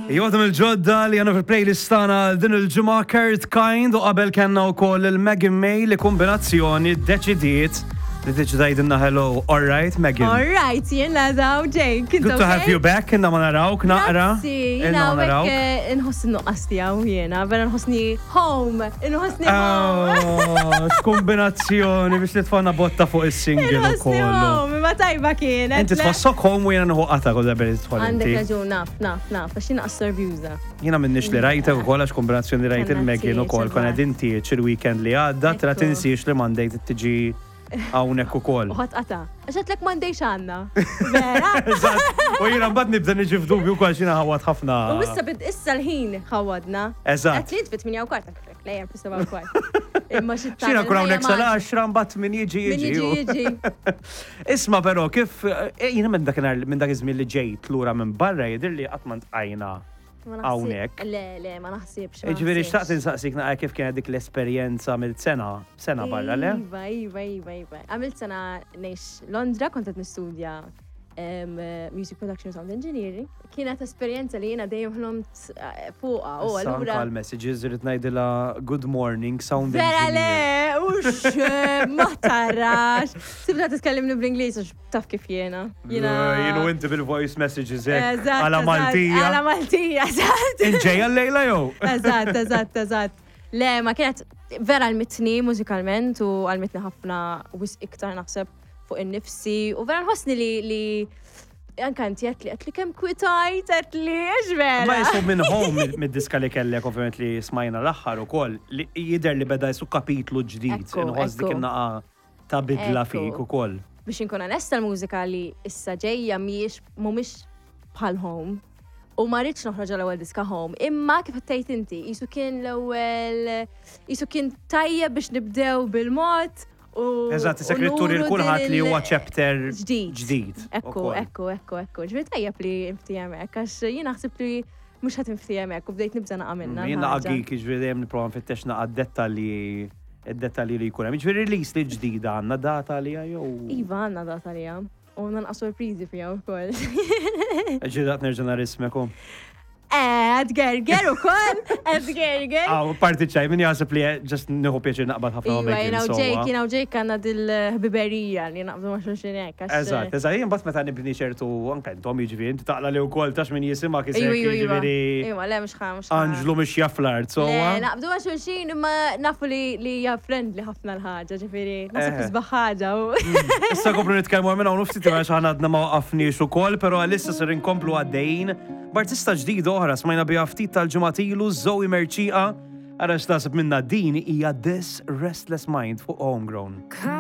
Jgħodhom il-ġodda li għandna fil-playlist tagħna din il-ġimgħa Kurt Kind u qabel kellna wkoll il-Megan May li kombinazzjoni ddeċidiet li tiġi tgħidilna hello. All right, Megan. All right, jien la Jake. Good to have you back, inna ma narawk naqra. Grazzi, jiena hawnhekk eh, nħoss nuqqas tiegħu jiena, vera nħossni home, nħossni home. Oh, x'kombinazzjoni biex nitfana botta fuq is-single ukoll. Home, ma tajba kienet. Inti tħossok home u jiena nħu qata kull darba li tidħol Għandek raġun, naf, naf, naf, għax jiena assorbjuża. Jiena minnix li rajtek ukoll għax kombinazzjoni rajt il-Megan ukoll konna din tieċ il-weekend li għadda, tra tinsiex li Monday tiġi hawnhekk ukoll. U ħadd qata'. Għax għedtlek m'għandejx għandna. Vera? Eżatt. U jiena mbagħad nibda niġi f'dubju wkoll għax jiena ħawwad ħafna. U issa bid issa l-ħin ħawwadna. Eżatt. Għedt li int fit-8 u kwart għedtlek le hemm fis-7 u kwart. Imma xi Xina kun hawnhekk sal-10 mbagħad min jiġi Min jiġi. jiġi jiġi. Isma' però kif eh, jiena minn dakinhar minn dak iż-żmien li ġejt lura minn barra jidhirli qatt ma ntqajna hawnhekk. Le, le, ma naħsibx. Ġifieri xtaqt insaqsik naqra kif kienet dik l-esperjenza mill sena, sena barra, le? Iva, iva, iva, iva. Għamilt sena ngħix Londra, kont qed nistudja Music Production Sound Engineering. Kienet esperjenza li jiena dejjem ħlomt eh, fuqha. U allura. messages irrid ngħidilha good morning sound Vera le, ux, ma tarax. Tibda titkellimni bl-Ingliż għax taf kif jiena. Jiena. Jienu inti bil-voice messages hekk. Għala Maltija. Għala Maltija, eżatt. Inġejja l-lejla jew? Eżatt, eżatt, eżatt. Le, ma kienet vera għalmitni mużikalment u għalmitni ħafna wisq iktar naħseb fuq in-nifsi u vera nħossni li li anka inti għedt li għedt li kemm kwitajt għedt li għax vera. Ma jisu minn home mid-diska li kellek ovvjament li smajna l-aħħar ukoll li jidher li beda jisu kapitlu ġdid. Inħoss dik in-naqa ta' bidla fik ukoll. Biex inkun onesta l-mużika li issa ġejja mhijiex mhumiex bħal home. U ma rridx noħroġ l-ewwel diska home, imma kif qed tgħid inti, qisu kien l-ewwel qisu kien tajjeb biex nibdew bil-mod u Eżatt, issa trid turi lil kulħadd li huwa chapter ġdid. Ekku, ekku, ekku, ekku. Ġifieri tajjeb li nftiehem hekk għax jien naħseb li mhux ħadd inftiehem hekk u bdejt nibża' naqa' minnha. Jien naqa' geek, jiġifieri dejjem nipprova nfittex naqa' dettalji id-dettalji li jkun hemm. Jiġifieri release li ġdida għandna data għaliha jew? Iva għandna data għaliha. U għandna naqra sorpriżi fiha wkoll. Ġieli daqt nerġa' nara ismek u. Għad gerger u koll, għad gerger. Għaw, parti ċaj, min jaħseb li ġast nieħu pjaċir naqbad ħafna ma' Iva, jina u Jake, jina u Jake għanna dil-ħbiberija li naqbdu ma' xulxin hekk. Eżatt, eżatt, jien bat meta nibni ċertu, anke intom jiġifieri, inti taqla li wkoll tax min jisimak isek jiġifieri. Iva, le mhux ħa, mhux ħa. Anġlu mhux jaf l-art, so. Le, naqbdu ma' xulxin imma nafu li hija friendly ħafna l-ħaġa, ġifieri, naħseb isbaħ ħaġa. Issa nkomplu nitkellmu minn hawn u ftit għax aħna għadna ma waqafniex ukoll, però għalissa ser inkomplu għaddejjin. B'artista ġdida oħra smajna biha ftit tal-ġimgħat ilu, Zoe Mercieca. Ara x'taħseb minnha din hija This Restless Mind fuq Homegrown.